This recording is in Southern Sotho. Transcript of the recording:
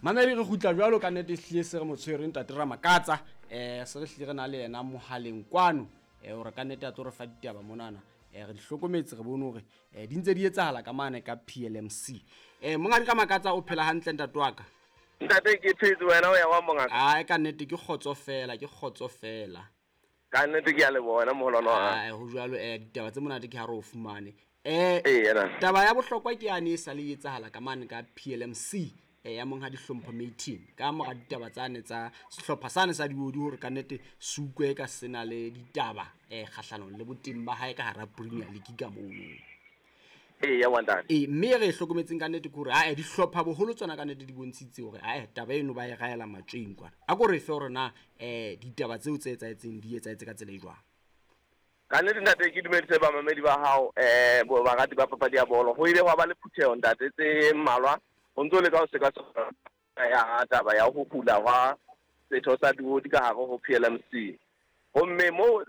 Mamedi, re kgutla jwalo ka nnete, ehlile se re mo tshwere ntate Ramakatsa. Se re hlile re na le yena mohaleng kwano, hore ka nnete a tlo re fa ditaba monana. Re di hlokometse, re bone hore di ntse di etsahala ka mane ka PLMC. Monghadi Ramakatsa, o phela hantle, ntate wa ka? Ntate, ke phetse, wena o ya wa, mongaka? Ai, ka nnete ke kgotso fela, ke kgotso fela. Ka nnete ke a leboha, wena moholwane wa. Ai, ho jwalo. Ditaba tse monate ke ha re o fumane. Ee, na. Taba ya bohlokwa ke yane e sa le e etsahala ka mane ka PLMC, ya monghadi Hlompho Matin, ka mora ditaba tsane tsa sehlopha sane sa diodi, hore ka nnete se utlwe ka sena le ditaba kgahlanong le boteng ba hae ka hara Premier League ka mono. Ee, ya wa, ntate. Ee, mme re e hlokometseng ka nnete ke hore ae, dihlopha boholo tsona ka nnete di bontshitse hore ae, taba eno ba e raela matsweng kwana. A ko re fe hore na ditaba tseo tse etsahetseng di etsahetse ka tsela e jwang? Ka nnete, ntate, ke dumedise bamamedi ba hao, bo barati ba papadi ya bolo. Ho ile hwa ba le phutheho, ntate, tse mmalwa ho ntso leka ho sekaseka ya taba ya ho hula hwa setho sa diodi ka hare ho PLMC. Gomme moo